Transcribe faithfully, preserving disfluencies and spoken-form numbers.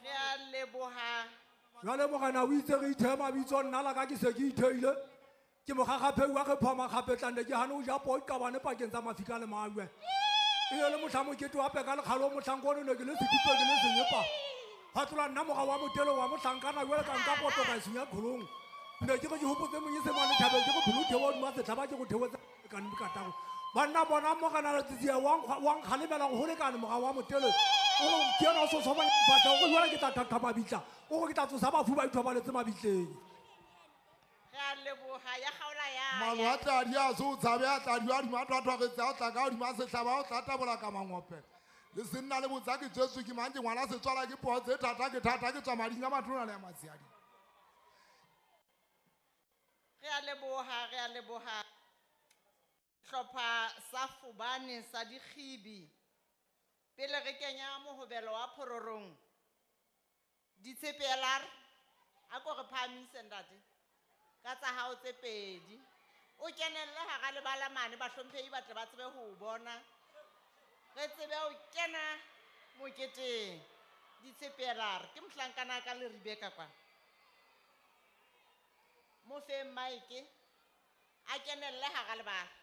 Re a leboha. Jwale morena o itse re ithehe mabitso, nna la ka ke se ke itheile. Ke mokgakgapheu wa re phoma kgapetlane, ke hane ho ja poo qabane pakeng tsa mafika le majwe. E le mohla mokete wa peka lekgalo, mohlanka ono ne ke le setipe ke le senyepa. Hwa tlola nna mora wa motelo wa mohlankana, jwale ka nka poto ka e senya qholong. Ne ke re ke hopotse Monyesemane thabeng, ke re pholo theoha hodima setlhaba, ke go theohetse ka kataro. Banna bona morena Letsie wa nkga-, wa nkgalemela gore ho lekane mora wa motelo. O re ke yena o sosobanya diphahlo, o re jwale ke tla thatha mabitla, o re ke tla tsosa bafu ba ithobaletse mabitleng. Re a leboha, ya kgaola ya Malo ya. a tladi a se o tshabe, a tladi a hodima thwathwaretse, a o tla ka hodima sehlaba, a o tla tabola ka mangope. Le senna le botsa ke tswetswe ke mang, ke ngwana setswala ke poo tse thata, ke thata, ke tswa mading a matona le a matshehadi. Re a leboha, re a leboha. Hlopha sa Fobane sa Dikgibi. Pele re kenya mohobelo wa phororong, ditshepelar, a ko re phahamise ntate, ka tsa hao tse pedi. O kenelle hara lebala mane, bahlomphehi ba tle ba tsebe ho o bona. Re tsebe ho kena moketeng. Ditshepelar, ke mohlankana ka le Rebecca kwa. Mo feng maeke, a kenelle hara lebala.